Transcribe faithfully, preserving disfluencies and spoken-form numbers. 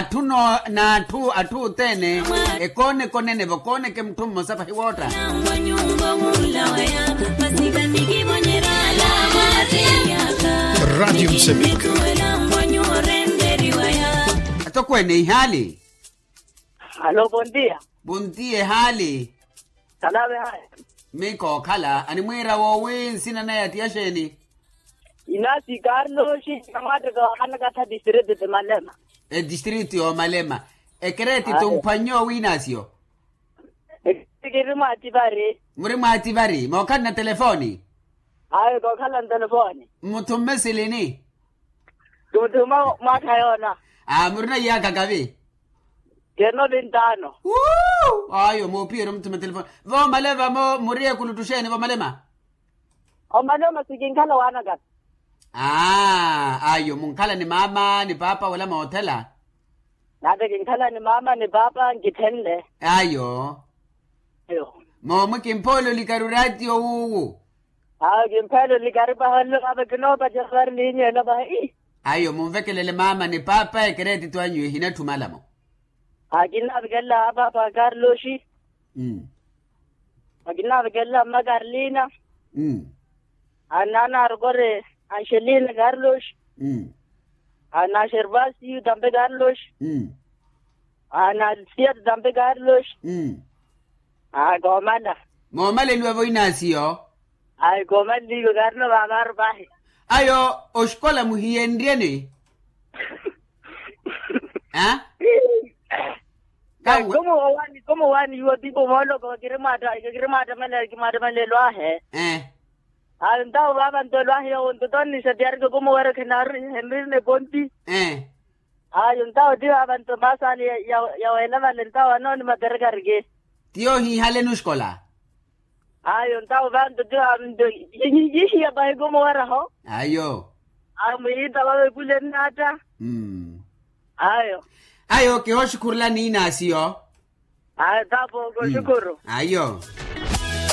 Atthu n'atthu atthu othene. Ekooneke onenevo kooneke mutthu mmosa pahi wootta. Ratio msevika. Atokweene ihaali. Alo bontia. Bontia ehaali. Khalave haya. Mikookhala animwiira woowi nsina naya tiya xeeni? Inasi karloxi. Kamwatteka wahanakatha distrito ti malema. Edistrito yoomalema. Ekereeti tumphwanyo wiinasiyo. Kiri mwaativari. Muri mwaativari mookhalana telefooni? Ayo kookhalana telefooni. Mutthu mmesilini? Tunthu mwaakha yoona. Aa murina iyaakha kavi? Kerino vintaano. Ayo moopiyeerya omutthu matelefooni. Voomalema muri ekulutthu xeeni voomalema? Omalema sikinkhala waanakana. Aa ayo munkhala ni maama ni paapa wala moothela? Nave kinkhala ni maama ni paapa nkithenle. Ayo. Moomu kimphoole olikari oraatiyo wuuwu. Ayo kimpheele olikari paha nlo vava kinoopacerya vari liinyeelo paha. Ayo munvekelele maama ni paapa ekereetitu anyu ehinatthumala-mo. Akinnaavikelela apaapa karloxi. Akinnaavikelela mma karlina. Ananarokore anxelina karloxi. Anaxervasi tampe karloxi. Anasiya tampe karloxi. Akoomala. Moomaleliwa voinasiyo. Ayi koomaleliwa karino vaavaaru pahi. Ayo oxikola muhiyenryeni? Aa. Komo wani komo wani iwo pipo mooloko kirimwaattamela kimwaattamela elwahe. Ayo ntawo vaava nto elwahe yowo nto tonnisatiyarike komo wera khenari henrine ponti. Ayo ntawo ti vaava nto masaani ya weela vale ntawo anooni materekarike. Ti yoohiihaleni oxikola. Ayo ntawo vanto ti vaava nto yihiya pahi komo weraho. Ayo. Ayo muyiita vaava ekuleni naatta. Ayo. Ayo kihooxukhurulani inasiyo. Ayo tapo koxukuru. Ayo.